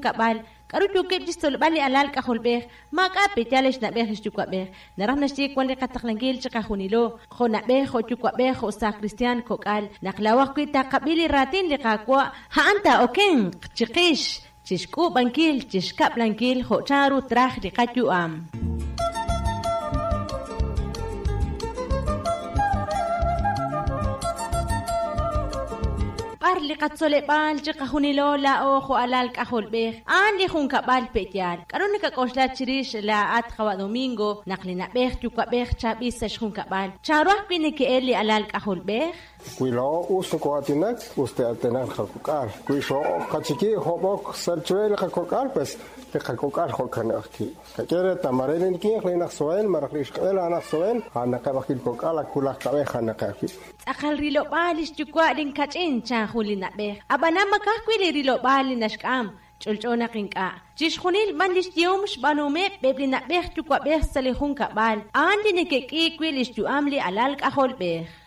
junkab'al, k'aru yookeb' chi xtzolb'al li alal k'ajolb'ej, maak'a' pe'yaal li xna'b'ej li xyuwa'b'ej. Naraj naxye wan li qataqlankil chiqajunilo, jo' na'b'ej, jo' yuwa'b'ej, jo' saaj kristiaan, kok'al, naq laa'o ajwi' taqab'i li raatin li Qaawa', a'an taa'okenq chiqix, chixk'uub'ankil, chixkab'lankil jo' chanru traj li qayu'am. B'ar li qatzoleb'aal chiqajunilo laa'o jo' alal k'ajolb'ej, a'an li junkab'al pe'yaal. K'aru nakak'oxla chirix laa'at qawa' Domingo naq li na'b'ej yuwa'b'ej chaab'il sa' xjunkab'al, chanru ajwi' neke'el li alal k'ajolb'ej? Wi laa'o us nokoo'aatinak, us te'aatinaq li qakok'al. Wi xoo'qachiki hob'ok sa' chire li qakok'al, pues li qakok'al jo'kan ajwi'. Qak'e reetal, mare li winq li naq soen, malaj li ixqa'el a'an aj soen, a'anaqeb' ajwi' li kok'al ak wulaj kab'ej a'anaqeb' ajwi'. Tz'aqal rilob'aal li xyuwa' linkach'in, chan jun li na'b'ej. Ab'anan ma ka'ajwi' li rilob'aal li naxk'am, Ch'olch'o naq ink'a'. Chixjunil b'an li xyehom xb'aanuhomeb' eb' li na'b'ej yuwa'b'ej sa' li junkab'al, a'an li neke'k'iik wi' li xyu'am li alal k'ajolb'ej.